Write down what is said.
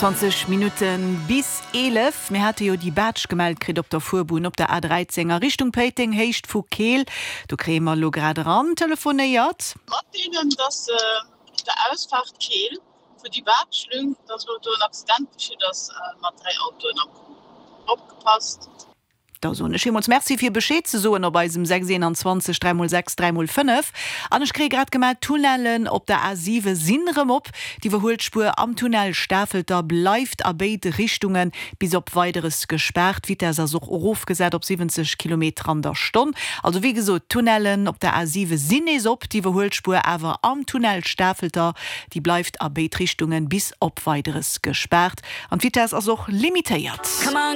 21 Minutte bis 11. Mir hate jo déi Baatsch gemellt kritt op der Fuerbunn op der A13 a Richtung Péiteng, Héicht vu Keel. Do kréie mer elo grad eran telefonéiert. Matdeelen, dass op der Ausfaart Keel vu déi Baatschlüng, dass elo do en Accident geschitt ass mat 3 Autoen am Coup. Opgepasst! Da soen ech villmools Merci fir Bescheed ze soen op eisem 6 21 3 x 6 3 x 5. An ech kréie grad gemellt, d'Tunnellen op der A 7 sinn erëm op. D'Iwwerhuelspuer am Tunnel Stafelter bleift a béid Richtunge bis op Weideres gespaart. D'Vitess ass och erofgesat op 70 Kilometer an der Stonn. Also wéi gesot, d'Tunnellen op der A 7 sinn nees op, d'Iwwerhuelspuer awer am Tunnel Stafelter, déi bleift a béid Richtunge bis op Weideres gespaart. An d'Vitess ass och limitéiert.